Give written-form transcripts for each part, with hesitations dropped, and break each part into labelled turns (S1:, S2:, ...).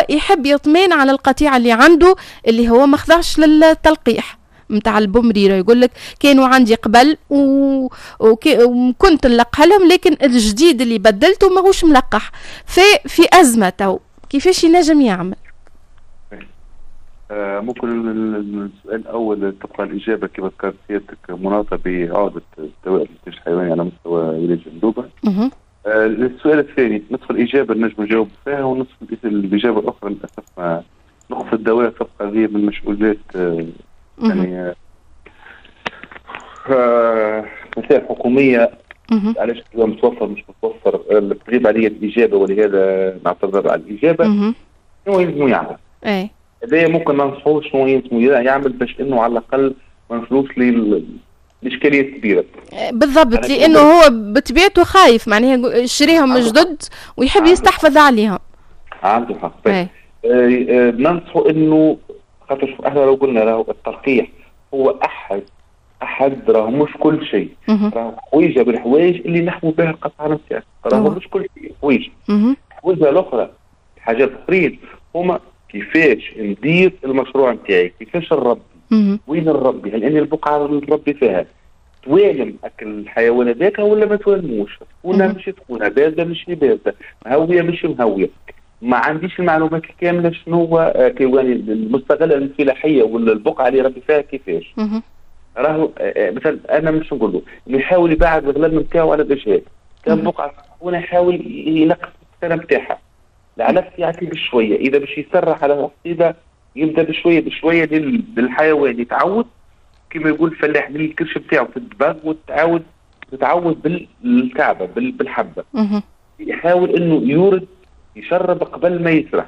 S1: يحب يطمئن على القطيع اللي عنده اللي هو ما خضعش للتلقيح نتاع البومريرة. يقول لك كانوا عندي قبل وكنت نلقح لهم، لكن الجديد اللي بدلته ماهوش ملقح، في ازمة تو، كيفاش ينجم يعمل؟
S2: ممكن السؤال الاول تبقى الاجابة كما ذكرت سيادتك مناطه بعوده الدواء الانتاج الحيواني على مستوى ولاية جندوبه. السؤال الثاني نصف الاجابة نجم نجاوب فيها، ونصف الاجابة الاخرى للاسف نقص الدواء تبقى هذه من مسؤوليات يعني مسائل حكومية. علاش الدواء متوفر مش متوفر، تغيب علي الاجابة ولهذا نعتذر على الاجابة. شنو يلزمو يعمل؟ هذايا ممكن ننصحوه شنو يلزمو يعمل باش انه على الاقل ما نوصلوش لاشكاليات كبيرة.
S1: بالضبط، لانه هو بطبيعته خايف، معناها شريهم جدد ويحب يستحفظ عليهم.
S2: عنده حق. ننصحه انه خاطر احنا لو قلنا راهو التلقيح هو احد راهو مش كل شيء، راهو حويجه بالحوايج اللي نحموا بها القطعة نتاعنا، راهو مش كل شيء حويجه. الحويجه الاخرى الحاجات الاخرين هما كيفاش ندير المشروع نتاعي، كيفاش نربي، وين نربي، هل اني البقعة اللي نربي فيها توالم اكل الحيوان هذاك ولا ما توالموش، سخونة مش سخونة، باردة مش باردة، مهويه مش مهويه. ما عنديش المعلومات الكاملة شنو هو كيواني المستغله الفلاحية ولا البقعة اللي ربي فيها كيفاش. راهو مثلا انا مش نقول له يحاول يبعد الغلال نتاعو على الاجهاد، كان بقعة سخونة يحاول ينقص السنة نتاعها، العلف يعطي بشوية، اذا باش يسرح على الحصيده يبدا بشوية بشوية للحيوان يتعود كما يقول الفلاح من الكرش نتاعو في الدباغ، وتعاود تتعود بالكعبة بالحبه. يحاول انه يورد يشرب قبل ما يسرح،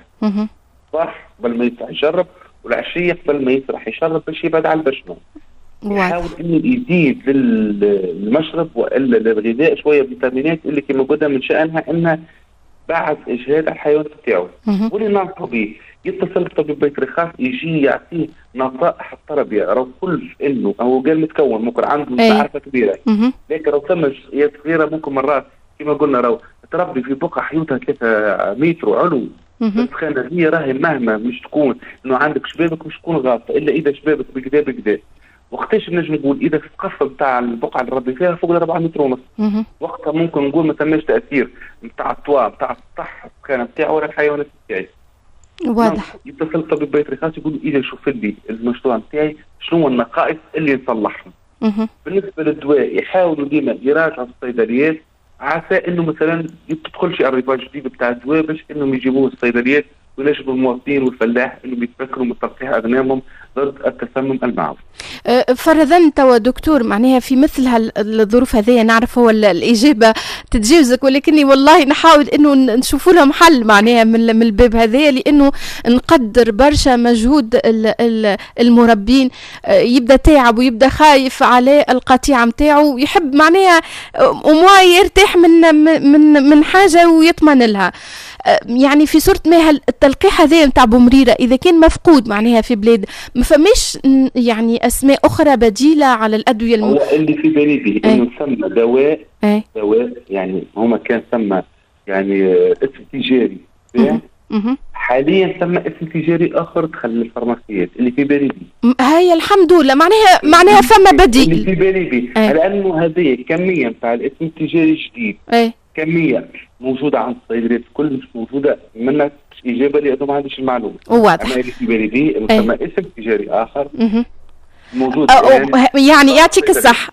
S2: صح، قبل ما يسرح يشرب، والعشيه قبل ما يسرح يشرب باش يبعد على البشمه. يحاول انه يزيد للمشرب والا للغذاء شوية فيتامينات اللي كما قلنا من شانها انها بعد اجهاد على الحيوان بتاعه. واللي ننصحه به يتصل بطبيب بيطري خاص يجي يعطيه نصائح التربية، راهو كل انه هو قال متكون ممكن عنده معرفة كبيرة، لكن راهو ثم جزئيات صغيرة ممكن مرات كما قلنا راهو تربي في بقعة حيوتها 3 متر علو، السخانه هي راهي مهما مش تكون انه عندك شبابك مش تكون غاطه الا اذا شبابك بكذا بكذا. وقتاش نجم نقول اذا في السقف نتاع البقعة اللي ربي فيها فوق 4 متر ونص، وقتها ممكن نقول ما ثماش تاثير نتاع الطوا نتاع السطح السخانه نتاعو ولا الحيوانات نتاعي.
S1: واضح.
S2: يتصل طبيب بيطري خاص يقول اذا شوف لي المشروع نتاعي شنو النقائص اللي نصلحهم. بالنسبة للدواء يحاولوا ديما يراجعوا الصيدليات، عسى انه مثلا تدخل شي arrivage جديد بتاع الدواء باش انهم يجيبوه الصيدليات وينجموا المواطنين والفلاح انهم يتفكروا من تلقيح اغنامهم ضد التسمم المعوي.
S1: فرضا توا دكتور معناها في مثل الظروف هذه، نعرف هو الاجابة تتجاوزك، ولكني والله نحاول انه نشوفوا لهم حل معناها من الباب هذايا، لانه نقدر برشا مجهود المربين، يبدا تعب ويبدا خايف على القطيعة نتاعو، ويحب معناها au moins يرتاح من من من حاجة ويطمن لها. يعني في صورة ما التلقيح هذا نتاع بومريره اذا كان مفقود معناها في بلاد ما فماش يعني اسماء اخرى بديله على الادوية
S2: هو اللي في بالي به انه ثم دواء دواء يعني هما كان ثم يعني اسم تجاري، حاليا ثم اسم تجاري اخر دخل للفارماسيات اللي في بالي به.
S1: هاي الحمد لله معناها فما بديل
S2: اللي في بالي به، لانه هذه كمية نتاع الاسم التجاري الجديد كمية موجودة عند الصيدليات الكل، مش موجودة منك اجابه لانه ما عنديش المعلومة.
S1: واضح.
S2: اما اللي في بالي به انه ثم اسم تجاري اخر موجود
S1: يعني يعطيك الصح.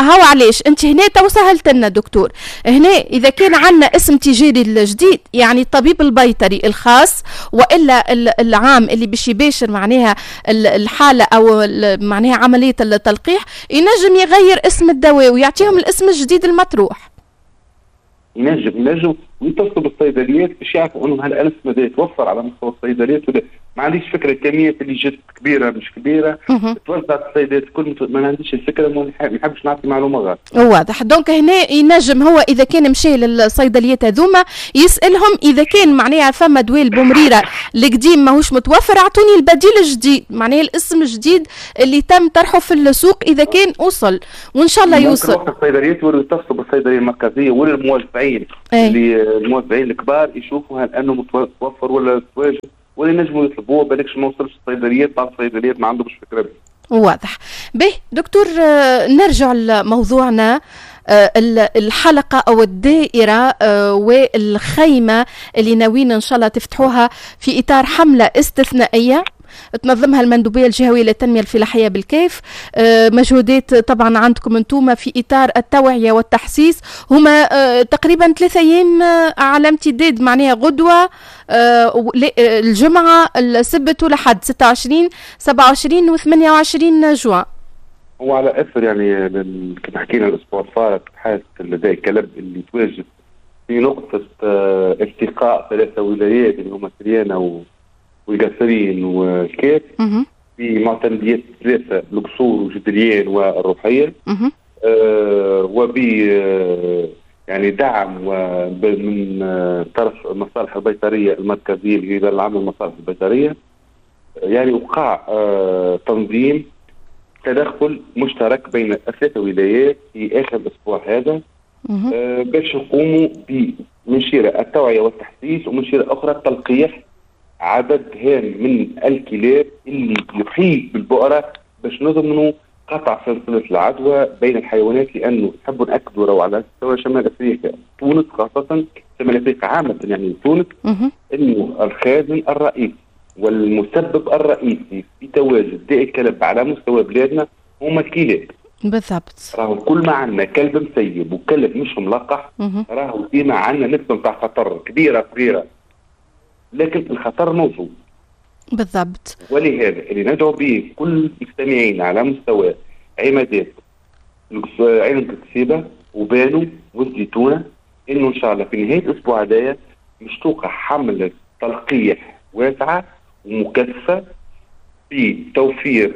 S1: هو علاش انت هنا تو سهلت لنا دكتور، هنا اذا كان عندنا اسم تجاري الجديد يعني الطبيب البيطري الخاص والا العام اللي باش يباشر معناها الحالة او معناها عملية التلقيح ينجم يغير اسم الدواء ويعطيهم الاسم الجديد المطروح.
S2: ينجم ويتصلوا بالصيدليات باش يعرفوا انه هالالف ماذا يتوفر على مستوى الصيدليات ولا ما عنديش فكرة الكميات اللي جت كبيرة مش كبيرة توزعت الصيدليات الكل، ما عنديش الفكرة، ما نحبش نعطي معلومة غلط.
S1: واضح. donc هنا ينجم هو اذا كان مشى للصيدليات هذوما يسالهم اذا كان معناها فما دواء البومريره القديم ماهوش متوفر اعطوني البديل الجديد، معناها الاسم الجديد اللي تم طرحه في السوق اذا كان وصل، وان شاء الله يوصل.
S2: وقت الصيدليات ولا يتصلوا بالصيدليه المركزية ولا الموزعين اللي الموزعين الكبار يشوفوا هل انه متوفر ولا تواجد واللي نجموا يطلبوه، بالكش ما وصلش الصيدليات، بعض الصيدليات ما عندهمش فكرة به.
S1: واضح. به دكتور، نرجع لموضوعنا، الحلقة أو الدائرة والخيمة اللي ناويين إن شاء الله تفتحوها في إطار حملة استثنائية تنظمها المندوبية الجهوية للتنمية الفلاحية بالكاف. مجهودات طبعا عندكم انتم في إطار التوعية والتحسيس، هما تقريبا 3 أيام على امتداد معناها غدوة الجمعة السبت والأحد 26 27 و 28 جوان.
S2: هو على اثر يعني كما حكينا الاسبوع الفارط حالة لدى الكلب اللي تواجد في نقطة التقاء 3 ولايات اللي هما سريانة والقصرين والكاف في معتمديات 3، القصور وجدريان والروحية، وب يعني دعم من طرف المصالح البيطرية المركزية اللي هي العام المصالح البيطرية، يعني وقع تنظيم تدخل مشترك بين 3 ولايات في آخر الأسبوع هذا باش يقوموا من شيرة التوعية والتحسيس ومن شيرة أخرى تلقيح عدد هام من الكلاب اللي يحيط بالبؤرة باش نضمنوا قطع سلسلة العدوى بين الحيوانات، لأنه نحب نأكدوا راهو على مستوى شمال أفريقيا، تونس خاصة، شمال أفريقيا عامة يعني تونس، أنه الخازن الرئيسي والمسبب الرئيسي في تواجد داء الكلب على مستوى بلادنا هما الكلاب.
S1: بالضبط.
S2: راهو كل ما عندنا كلب مسيب وكلب مش ملقح راهو ديما عندنا نسبة نتاع خطر كبيرة صغيرة، لكن الخطر موجود.
S1: بالضبط.
S2: ولهذا اللي ندعو به كل المستمعين على مستوى عمادات عين الكسيبة وبانو والزيتونة انه ان شاء الله في نهاية الاسبوع هذايا مش توقع حملة تلقيح واسعة ومكثفة في توفير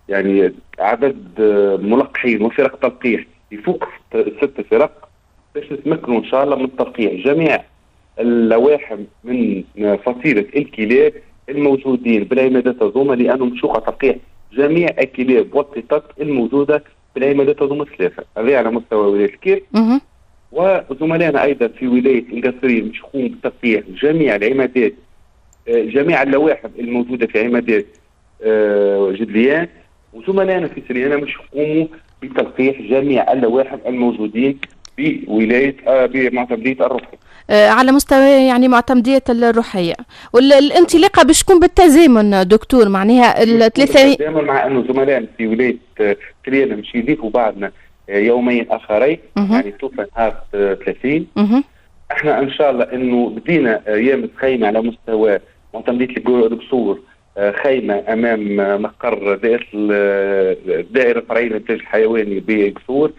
S2: يعني عدد ملقحين وفرق تلقيح يفوق 6 فرق باش نتمكنوا ان شاء الله من تلقيح جميع اللواحم من فصيلة الكلاب الموجودين بالعمادات هذوما، لأنهم مشوقة تلقيح جميع الكلاب والقطط الموجودة بالعمادات هذوما 3، هذا على مستوى ولاية الكاف. وزملائنا أيضا في ولاية القصرين مش يقوموا بتلقيح جميع العمادات، جميع اللواحم الموجودة في عمادات جدليان، وزملائنا في سريانة مش يقوموا بتلقيح جميع اللواحم الموجودين في ولاية بمعتمدية الروحية.
S1: على مستوى يعني معتمدية الروحية. والانطلاقة باش تكون بالتزامن دكتور، معناها الثلاثة
S2: بالتزامن، مع انه زملائنا في ولاية سريانة مش يضيفوا بعدنا يومين اخرين، يعني توفى نهار 30. احنا ان شاء الله انه بدينا ايام خيمة على مستوى معتمدية القصور، خيمة امام مقر دائرة الدائرة الفرعية للإنتاج الحيواني بقصور،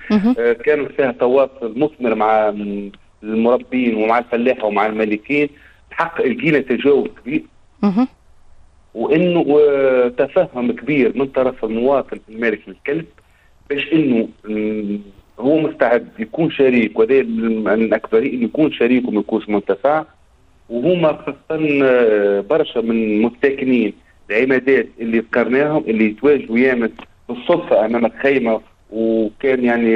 S2: كان فيها تواصل مثمر مع المربين ومع الفلاحة ومع المالكين، الحق لقينا تجاوب كبير وانه تفهم كبير من طرف المواطن المالك للكلب باش انه هو مستعد يكون شريك، وهذا الاكثرية انه يكون شريك وما يكونش منتفع. وهما خاصة برشا من مستكنين العمادات اللي ذكرناهم اللي يتواجدوا يامس بالصدفة امام الخيمة، وكان يعني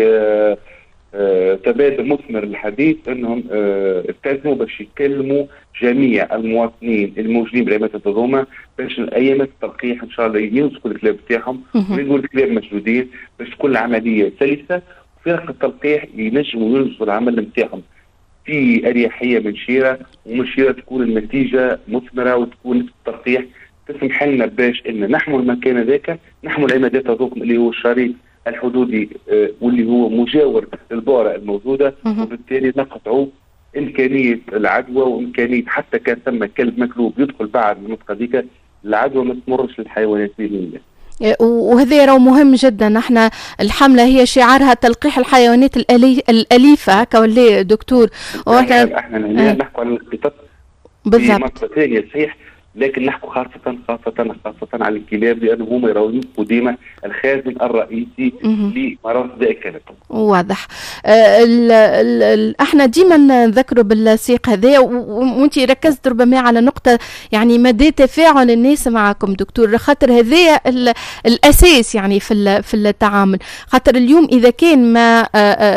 S2: تبادل مثمر للحديث انهم التزموا باش يكلموا جميع المواطنين الموجودين بالعمادات هذوما باش ايامات التلقيح ان شاء الله يمسكوا الكلاب تاعهم ويلقوا الكلاب مشدودين باش تكون العملية سلسه، وفرق التلقيح ينجموا ينجزوا العمل نتاعهم في اريحية من شيره، ومن شيره تكون النتيجة مثمرة وتكون التلقيح تسمح لنا باش ان نحموا المكان هذاك، نحموا العمادات هذوك اللي هو الشريط الحدودي واللي هو مجاور للبؤرة الموجودة، وبالتالي نقطعوا إمكانية العدوى وإمكانية حتى كان ثم كلب مكلوب يدخل بعد المنطقة ذيك العدوى ما تمرش للحيوانات بإذن الله.
S1: وهذا راهو مهم جدا. نحن الحملة هي شعارها تلقيح الحيوانات الأليفة، هكا ولا دكتور؟
S2: احنا نحكوا على القطط
S1: بالضبط.
S2: في منطقة ثانية صحيح، لكن نحكوا خاصة خاصة خاصة على الكلاب، لأنه هما يراو ديما الخازن الرئيسي لمرض داء الكلب.
S1: واضح. احنا ديما نذكروا بالسياق هذا، وانت ركزت ربما على نقطة يعني مدى تفاعل الناس معكم دكتور، خاطر هذا الأساس يعني في التعامل. خاطر اليوم إذا كان ما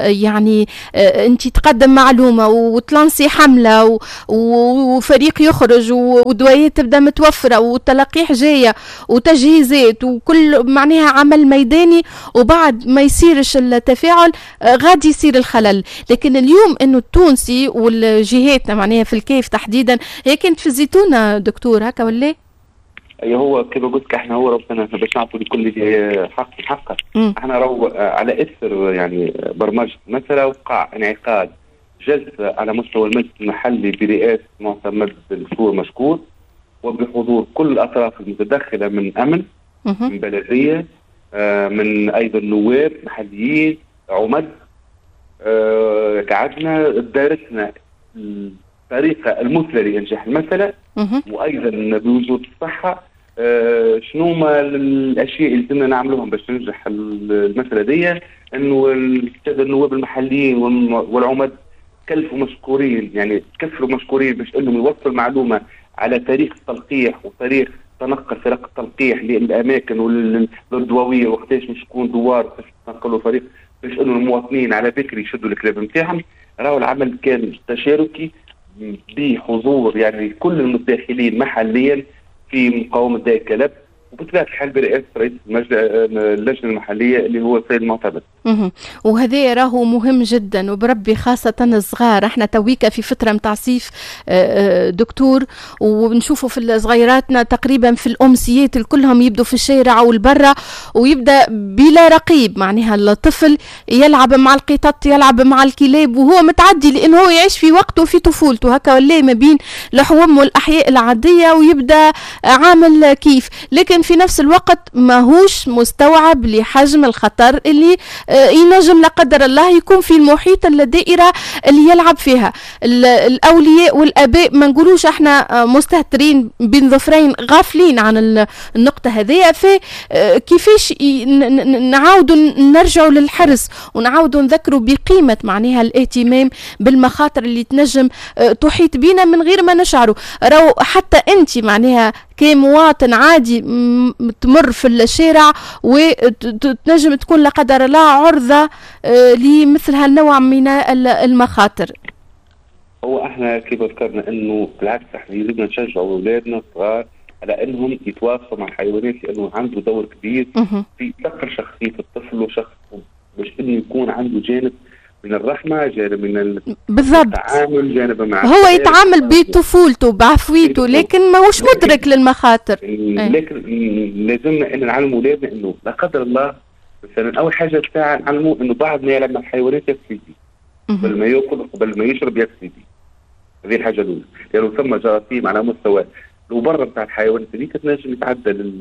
S1: يعني انت تقدم معلومة وتلانسي حملة وفريق يخرج ودوايات تبدا متوفرة والتلقيح جاية وتجهيزات وكل معناها عمل ميداني، وبعد ما يصيرش التفاعل غادي يصير الخلل. لكن اليوم انه التونسي والجهات معناها في الكيف تحديدا، هي كانت في الزيتونه دكتور هكا ولا؟
S2: اي هو كما قلت لك احنا هو ربنا باش نعطوا لكل حق حقه. احنا رو على اثر يعني برمجة مثلا وقع انعقاد جلسه على مستوى المجلس المحلي برئاسة معتمد الدكتور مشكور، وبحضور كل الأطراف المتدخلة من أمن، من بلدية، من أيضا نواب محليين، عمد. قعدنا دارسنا الطريقة المثلى لإنجاح المسألة، وأيضا بوجود الصحة شنو ما الأشياء اللي لازمنا نعملوهم باش تنجح المسألة دي. أنه السادة النواب المحليين والعمد كلفوا مشكورين، يعني كفلوا مشكورين باش أنهم يوصلوا المعلومة على تاريخ التلقيح وتاريخ تنقل فرق التلقيح للاماكن والدواويه، وقتاش مش يكون دوار وقتاش تنقلوا فريق، باش انه المواطنين على بكري يشدوا الكلاب نتاعهم. راهو العمل كان تشاركي بحضور يعني كل المتداخلين محليا في مقاومة داء الكلب، وبطبيعة الحال برئاسة رئيس اللجنة المحلية اللي هو السيد المعتمد.
S1: وهذا راهو مهم جدا، وبربي خاصة الصغار. احنا تويكا في فترة متاع صيف دكتور، ونشوفوا في صغيراتنا تقريبا في الامسيات كلهم يبدوا في الشارع والبرة، ويبدا بلا رقيب، معناها الطفل يلعب مع القطط، يلعب مع الكلاب، وهو متعدي لانه هو يعيش في وقته في طفولته هكا ولا ما بين الحوم والاحياء العادية، ويبدا عامل كيف، لكن في نفس الوقت ماهوش مستوعب لحجم الخطر اللي ينجم لا قدر الله يكون في المحيط الدائرة اللي يلعب فيها. الأولياء والآباء ما نقولوش احنا مستهترين بين ظفرين غافلين عن النقطة هذه، فكيفاش نعاودوا نرجعوا للحرص ونعاودوا نذكروا بقيمة معناها الاهتمام بالمخاطر اللي تنجم تحيط بينا من غير ما نشعروا. راهو حتى انت معناها كمواطن عادي تمر في الشارع وتنجم تكون لا قدر الله عرضة لمثل هالنوع من المخاطر.
S2: هو احنا كيف ذكرنا انه بالعكس احنا يجب نشجعوا اولادنا الصغار على انهم يتواصلوا مع الحيوانات، لانه عنده دور كبير في تقر شخصية الطفل وشخصه، باش انه يكون عنده جانب من الرحمة، جانب من
S1: بالضبط
S2: التعامل، جانب مع
S1: هو يتعامل بطفولته بعفويته، لكن ماهوش مدرك للمخاطر.
S2: لكن لازمنا ان نعلم اولادنا انه لا قدر الله مثلا اول حاجة بتاع نعلمه انه بعد ما يلعب مع الحيوانات يغسل يديه، قبل ما ياكل قبل ما يشرب يغسل يديه. هذه الحاجة الاولى، لانه يعني ثم جراثيم على مستوى الوبره نتاع الحيوانات هذيك تنجم يتعدى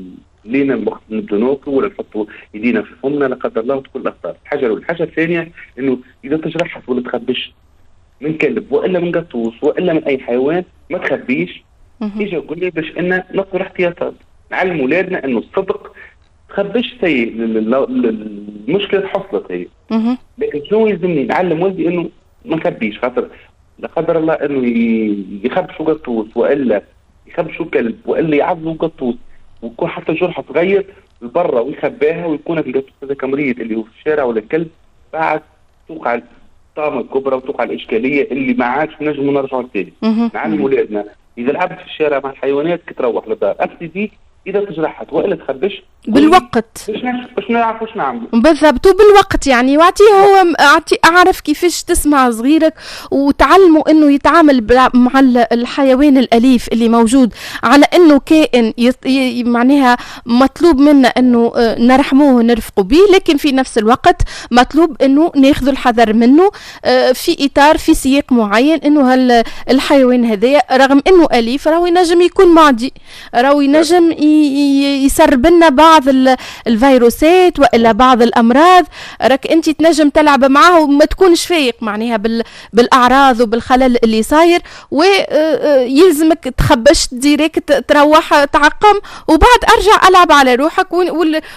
S2: لينا وقت نبدو ناكلوا ولا نحطوا يدينا في فمنا لا قدر الله وتكون الاخطار. الحاجة الاولى. الحاجة الثانية انه اذا تجرحت ولا تخبش من كلب والا من قطوس والا من اي حيوان ما تخبيش، اجي قول لي باش ان ناخذ احتياطات. نعلم اولادنا انه الصدق تخبش سيء، المشكلة حصلت هي، لكن شنو يلزمني نعلم ولدي انه ما نخبيش، خاطر لا قدر الله انه يخبشوا قطوس والا يخبشوا كلب والا يعضوا قطوس ويكون حتى جرحه صغير لبرا ويخباها ويكون القطوس هذاك مريض اللي هو في الشارع ولا الكلب، بعد توقع الطامة الكبرى وتوقع الاشكالية اللي ما عادش نجموا نرجعوا للتالي. نعلم اولادنا اذا لعبت في الشارع مع الحيوانات كي تروح للدار ابتدي اذا تجرحت والا تخبش
S1: بالوقت
S2: باش نعرفوا واش نعملوا
S1: بالضبط وبالوقت يعني، واعطيه هو اعرف كيفاش تسمع صغيرك وتعلمه انه يتعامل مع الحيوان الاليف اللي موجود على انه كائن معناها مطلوب منا انه نرحموه ونرفقوا به، لكن في نفس الوقت مطلوب انه ناخذ الحذر منه في اطار في سياق معين، انه الحيوان هذايا رغم انه اليف راهو ينجم يكون معدي، راهو ينجم يسرب لنا بعض الفيروسات والا بعض الامراض. راك انت تنجم تلعب معاه وما تكونش فايق معناها بالاعراض وبالخلل اللي صاير، ويلزمك تخبش direct تروح تعقم وبعد ارجع العب على روحك،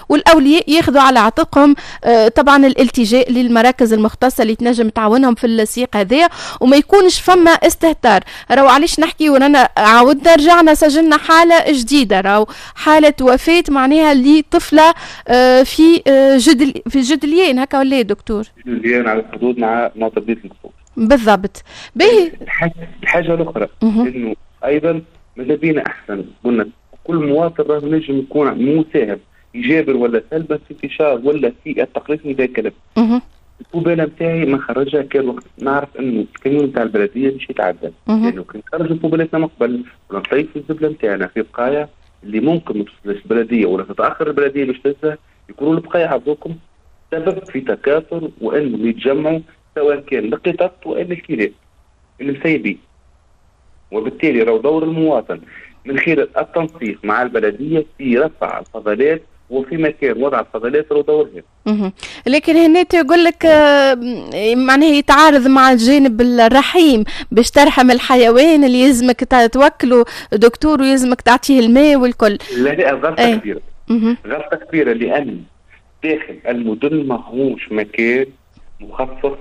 S1: والاولياء ياخذوا على عاتقهم طبعا الالتجاء للمراكز المختصة اللي تنجم تعاونهم في السياق هذايا، وما يكونش فما استهتار. راهو علاش نحكي ورانا عاودنا رجعنا سجلنا حاله جديدة، راهو حاله وفاه معناها لطفله في في جدليان هكا ولا دكتور؟
S2: جدليان على الحدود مع معتمديه القصور
S1: بالضبط. باهي
S2: الحاجة الاخرى انه ايضا ماذا بينا احسن، قلنا كل مواطن راه نجم يكون مساهم ايجابا ولا سلبا في انتشار ولا في التقليص من الكلب. ال poubelle نتاعي ما نخرجها كان وقت نعرف انه الكاميون نتاع البلدية مش يتعدى، لانه يعني كي نخرجوا poubelle اتنا من قبل ولا نطيف الزبله نتاعنا في بقايا اللي ممكن ما توصلش البلدية ولا تتاخر البلدية باش تهزها، يكونوا البقايا هذوكم سبب في تكاثر وانهم يتجمعوا سواء كان القطط والا الكلاب المسيبين. وبالتالي راهو دور المواطن من خلال التنسيق مع البلدية في رفع الفضلات وفي مكان وضع الفضلات راهو دورهم.
S1: لكن هنا تقول لك معناها يتعارض مع الجانب الرحيم باش ترحم الحيوان اللي يلزمك توكله دكتور ويلزمك تعطيه الماء والكل.
S2: لا لا، غلطه كبيرة. غلطه كبيرة، لان داخل المدن ماهوش مكان مخصص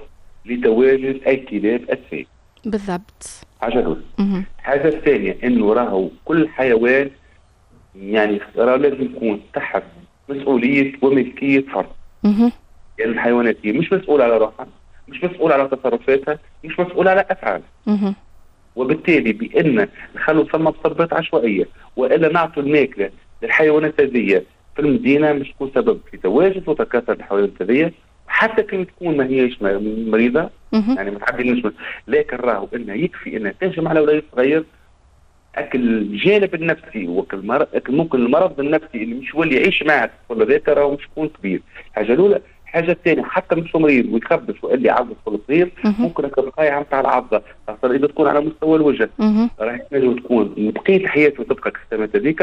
S2: لتواجد الكلاب السائبه.
S1: بالضبط.
S2: حاجة الاولى. الحاجة الثانية انه راهو كل حيوان يعني راه لازم يكون تحت مسؤولية وملكيه فرد. يعني الحيوانات هي مش مسؤولة على روحها، مش مسؤولة على تصرفاتها، مش مسؤولة على افعالها. وبالتالي بان نخلوا ثم مصبات عشوائية والا نعطوا الماكلة للحيوانات هذه في المدينة مش تكون سبب في تواجد وتكاثر الحيوانات هذه، حتى كي تكون ما هيش مريضه يعني ما تعديناش، لكن راهو انها يكفي انها تهجم على وليد صغير. اكل الجانب النفسي وكل ممكن المرض النفسي اللي مش يولي يعيش معاه الطفل هذاك راهو مش يكون كبير. الحاجة الاولى. الحاجة الثانية حتى مش مريض ويخبش واللي يعض الطفل الصغير ممكن البقايا نتاع العضه خاصة اذا تكون على مستوى الوجه راح تنجم تكون بقية حياته تبقى كالسمات هذيك،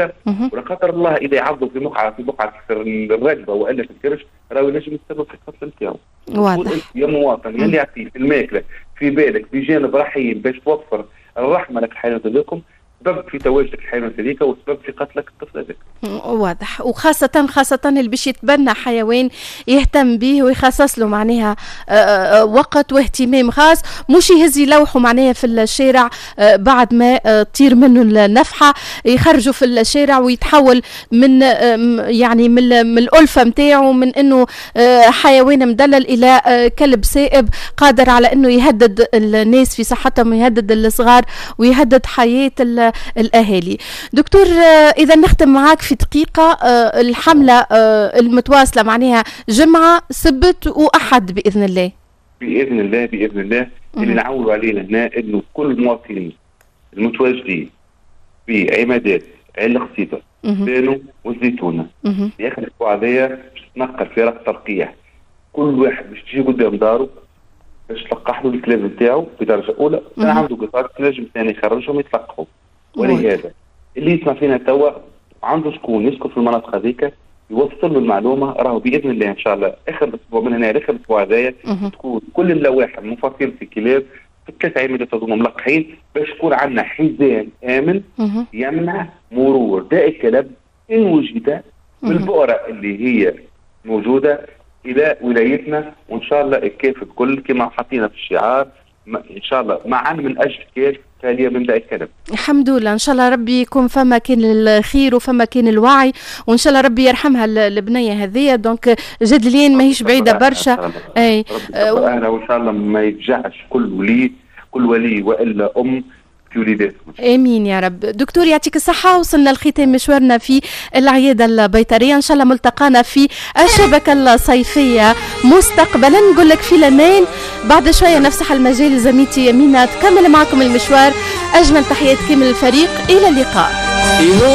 S2: ولا قدر الله اذا يعضوا في بقعة في الركبة والا في الكرش راهو ينجم يتسبب في القتل نتاعو.
S1: واضح.
S2: يا مواطن اللي يعطيه في الماكلة في بالك بجانب رحيم باش توفر الرحمة لك الحيوانات هذوكم، سبب في تواجدك الحيوانات هذيك وسبب في قتلك الطفل هذاك.
S1: واضح. وخاصة خاصة اللي باش يتبنى حيوان يهتم به ويخصص له معناها وقت واهتمام خاص، مش يهز يلوحه معناها في الشارع بعد ما تطير منه النفحة، يخرجه في الشارع ويتحول من يعني من الألفة نتاعو من انه حيوان مدلل الى كلب سائب قادر على انه يهدد الناس في صحتهم ويهدد الصغار ويهدد حياة الأهالي. دكتور إذا نختم معاك في دقيقة، الحملة المتواصلة معناها جمعة سبت وأحد بإذن الله.
S2: بإذن الله بإذن الله. اللي نعولوا عليه هنا إنه كل المواطنين المتواجدين في عمادات عين القصيبة بانو والزيتونة في آخر الأسبوع هذايا باش تتنقل فرق تلقيح، كل واحد باش تجي قدام داره باش تلقح له الكلاب نتاعو بدرجة أولى، كان عنده قطار تنجم ثاني يخرجهم يتلقحوا. ولهذا اللي يسمع فينا توا عنده شكون يسكن في المناطق هذيك يوصل له المعلومة، راهو باذن الله ان شاء الله اخر الاسبوع من هنا لاخر الاسبوع هذايا تكون كل اللوائح المفصلة في الكلاب في الثلاث عمادات هذوما ملقحين باش يكون عندنا حزام امن يمنع مرور داء الكلب ان وجد من البؤره اللي هي موجودة الى ولايتنا، وان شاء الله الكاف الكل كما حطينا في الشعار ان شاء الله معا من اجل كاف خالية من داء الكلب.
S1: الحمد لله، ان شاء الله ربي يكون فما كان الخير وفما كان الوعي، وان شاء الله ربي يرحمها البنية هذيا. donc جدلين ماهيش بعيدة برشا.
S2: اي اهلا، وان شاء الله ما يفجعش كل ولي والا ام في وليداتهم.
S1: امين يا رب. دكتور يعطيك الصحة، وصلنا لختام مشوارنا في العيادة البيطريه، ان شاء الله ملتقانا في الشبكة الصيفية مستقبلا. نقول لك في الامان، بعد شوية نفسح المجال لزميلتي يمينة تكمل معكم المشوار. اجمل تحيات كامل الفريق، الى اللقاء.